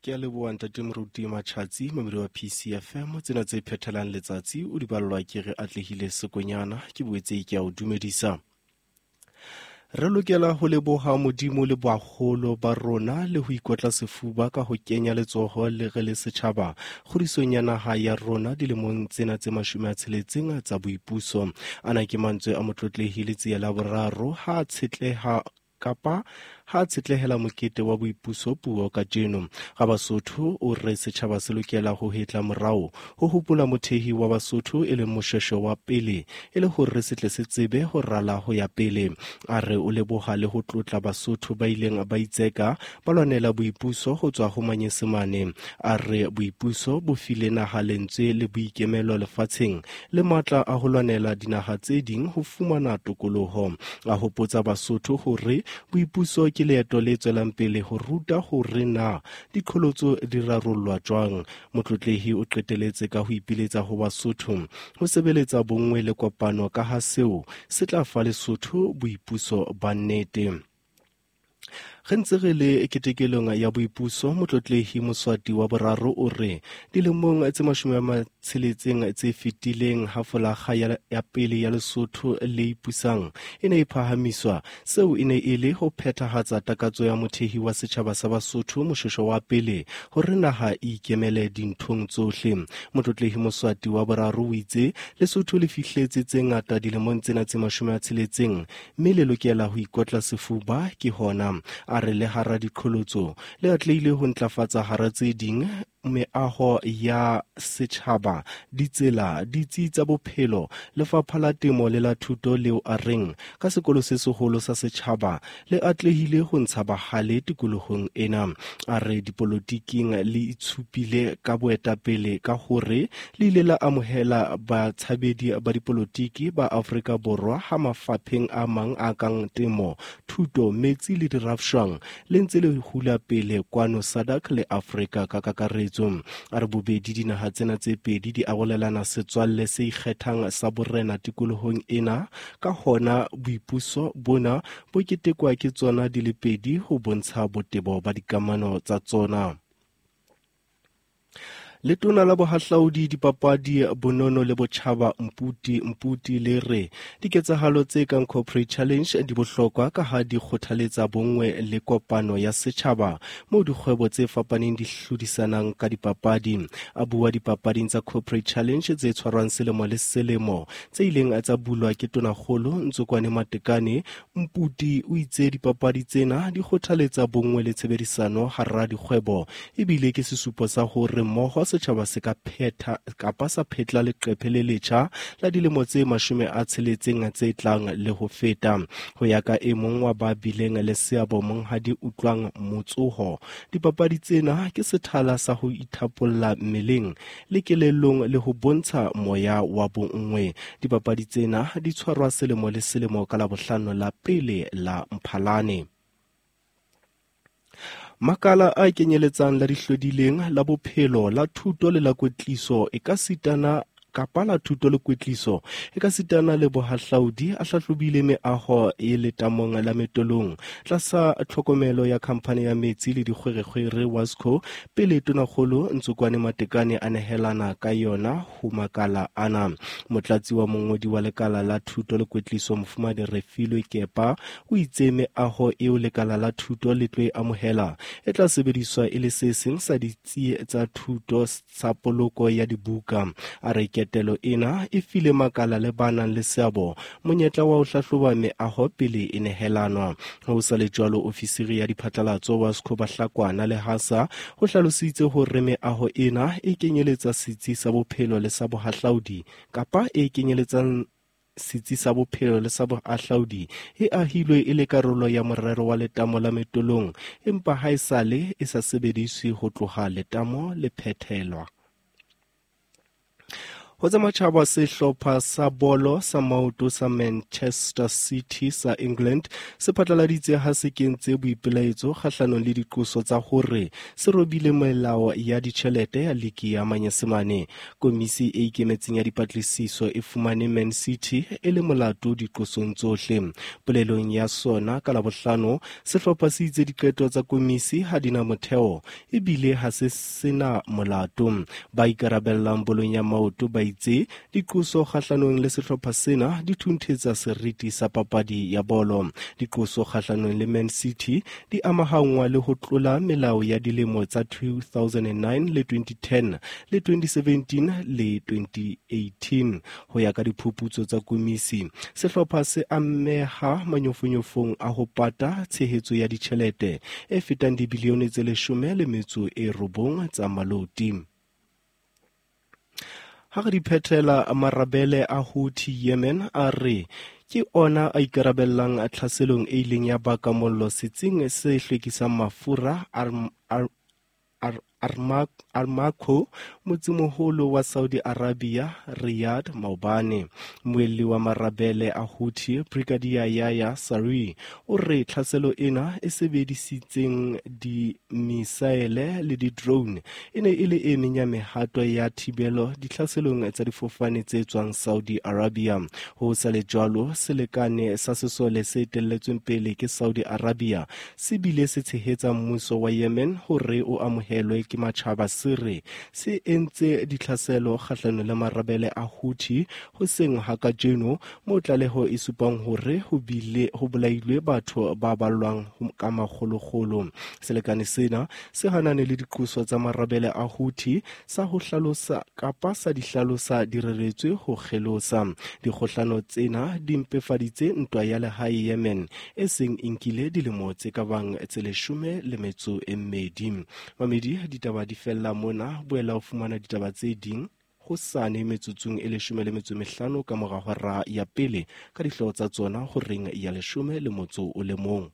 Ke a leboha ntate Moruti Matjhatsi, momedi wa PCFM. Tsena tse phethelang letsatsi o di ballwa ke re atlehile Sekonyana. Ke boetse ke a o dumedisa. Re lokela ho leboha Modimo le baholo ba rona le ho ikotla sefuba ka ho kenya letsoho le re le setjhaba kgodisong ya naha ya rona dilemong tsena tse 60 tsa boipuso. Ana ke mantswe a Motlotlehi Letsie la Boraro ha a tshetleha kapa ha a tshetlehela mokete wa boipuso puo kajeno. Rabasotho o re setjhaba se lokela ho hetla morao ho hopola mothehi wa Basotho e leng Moshweshwe wa pele e le hore se tle se tsebe ho rala ho ya pele. A re o leboha le ho tlotla Basotho ba ileng ba itseka ba lwanela boipuso ho tswa ho Manyesemane. A re boipuso bo file naha lentswe le boikemelo lefatsheng le matla a ho lwanela dinaha tse ding ho fumana tokoloho. A hopotsa Basotho hore boipuso ke leeto le tswelang pele ho ruta hore na diqholotso di rarollwa jwang. Motlotlehi o qeteletse ka ho ipiletsa ho Basotho ho sebeletsa bonngwe le kopano ka ha seo se tla fa Lesotho boipuso ba nnete. Re ntse re le ketekelong ya boipuso, Motlotlehi Moswati wa Boraro o re dilemong tse 60 tse fetileng ha folakga ya pele ya Lesotho le ipusang e ne e phahamiswa, seo e ne e le ho phethahatsa takatso ya mothehi wa setjhaba sa Basotho Moshweshwe wa pele hore naha e ikemele dinthong tsohle. Motlotlehi Moswati wa Boraro o itse Lesotho le fihletse tse ngata dilemong tsena tse 60 mme le lokela ho ikotla sefuba ke hona. A re le hara diqholotso le atlehile ho ntlafatsa hara tse ding meaho ya setjhaba, ditsela, ditsi tsa bophelo, lefapha la temo le la thuto leo a reng ka sekolo se seholo sa setjhaba le atlehile ho ntsha bahale tikolohong ena. A re dipolotiking le itshupile ka boetapele ka hore le ile la amohela batshabedi ba dipolotiki ba Afrika Borwa ha mafapheng a mang a kang temo, thuto, metsi le dirafshwang le ntse le hula pele kwano SADC le Afrika ka kakaretso. A re bobedi dinaha tsena tse pedi di arolelana setswalle se ikgethang sa borena tikolohong ena, ka hona boipuso bona bo ketekwa ke tsona di le pedi ho bontsha botebo ba dikamano tsa tsona. Letona la bohahlaudi, dipapadi, bonono le botjhaba Mputi Mputi le re diketsahalo tse kang Corporate Challenge di bohlokwa ka ha di kgothaletsa bonngwe le kopano ya setjhaba moo dikgwebo tse fapaneng di hlodisanang ka dipapadi. A bua dipapading tsa Corporate Challenge tse tshwarwang selemo le selemo tse ileng tsa bulwa ke Tonakgolo Ntsokwane Matekane, Mputi o itse dipapadi tsena di kgothaletsa bonngwe le tshebedisano hara dikgwebo ebile ke sesupo sa hore mmoho setjhaba se ka phetha kapa sa phetla leqephe le letjha la dilemo tse 60 tse tlang le ho feta. Ho ya ka e mong wa ba bileng le seabo Monghadi Utlwang Motsoho, dipapadi tsena ke sethala sa ho ithapolla mmeleng le kelellong le ho bontsha moya wa bonngwe. Dipapadi tsena di tshwarwa selemo le selemo ka Labohlano la pele la Mphalane. Makala a kenyeletsang la dihlodileng, la bophelo, la thuto le la kwetliso e ka sitana kapa la thuto le kwetliso e ka sitana le bohahlaudi a hlahlobile meaho e letamong la Metolong tlasa tlhokomelo ya khamphane ya metsi le dikgwerekgwere Wasco pele Tonakgolo Ntsokwane Matekane a nehelana ka yona ho makala ana. Motlatsi wa mongodi wa lekala la thuto le kwetliso Mofumadi Refilwe Kepa o itse meaho eo lekala la thuto le tlo e amohela e tla sebediswa e le se seng sa ditsi tsa thuto sa poloko ya dibuka. A re ketelo ena e file makala le ba nang le seabo monyetla wa ho hlahloba meaho pele e nehelanwa. Ho sa le jwalo, ofisiri ya diphatlalatso Wasco Bahlakwana le Hasa ho hlalositse hore meaho ena e kenyeletsa setsi sa bophelo le sa bohahlaudi kapa e kenyeletsang setsi sa bophelo le sa bohahlaudi e ahilwe e le karolo ya morero wa letamo la Metolong, empa haesale e sa sebediswe ho tloha letamo le phethelwa. Ho tsa matjhaba, sehlopha sa bolo sa maoto sa Manchester City sa England se phatlaladitse ha se kentse boipelaetso kgahlanong le diqoso tsa hore se robile melao ya ditjhelete ya liki ya Manyesemane. Komisi e ikemetseng ya dipatlisiso e fumane Man City e le molato diqosong tsohle. Polelong ya sona ka Labohlano, sehlopha se itse diqeto tsa komisi ha di na motheo ebile ha se sena molato. Ba ikarabellang bolong ya maoto ba itse diqoso kgahlanong le sehlopha sena di thunthetsa seriti sa papadi ya bolo. Diqoso kgahlanong le Man City di amahangwa le ho tlola melao ya dilemo tsa 2009 le 2010 le 2017 le 2018. Ho ya ka diphuputso tsa komisi, sehlopha se ameha manyofonyofong a ho pata tshehetso ya ditjhelete e fetang dibilione tse 19 tsa maloti. Ha re di phethela, marabele a Houthi Yemen a re ke ona a ikarabellang tlhaselong e ileng ya baka mollo setsing se hlwekisang mafura Aramco motsemoholo wa Saudi Arabia, Riyadh, maobane. Mmuelli wa marabele a Houthi, Brigadier Yahya Saree, o re tlhaselo ena e sebedisitseng dimisaele le di-drone e ne e le e meng ya mehato ya thibelo ditlhaselong tsa difofane tse tswang Saudi Arabia. Ho sa le jwalo, selekane sa sesole se etelletsweng pele ke Saudi Arabia se bile se tshehetsa mmuso wa Yemen hore o amohelwe ke matjhaba, se re se entse ditlhaselo kgahlanong le marabele a Houthi hoseng ha kajeno, moo tlaleho e supang hore ho bile ho bolailwe batho ba ballwang ka makgolokgolo. Selekane sena se hanane le diqoso tsa marabele a Houthi sa ho hlalosa kapa sa di hlalosa di reretswe ho kgelosa. Dikgohlano tsena di mpefaditse ntwa ya lehae Yemen e seng e nkile dilemo tse ka bang tse 12. Mamedi, ditaba di fella mona. Boela ho fumana ditaba tse ding hosane metsotsong e 15 ka mora hora ya pele ka dihlooho tsa tsona horeng ya 11.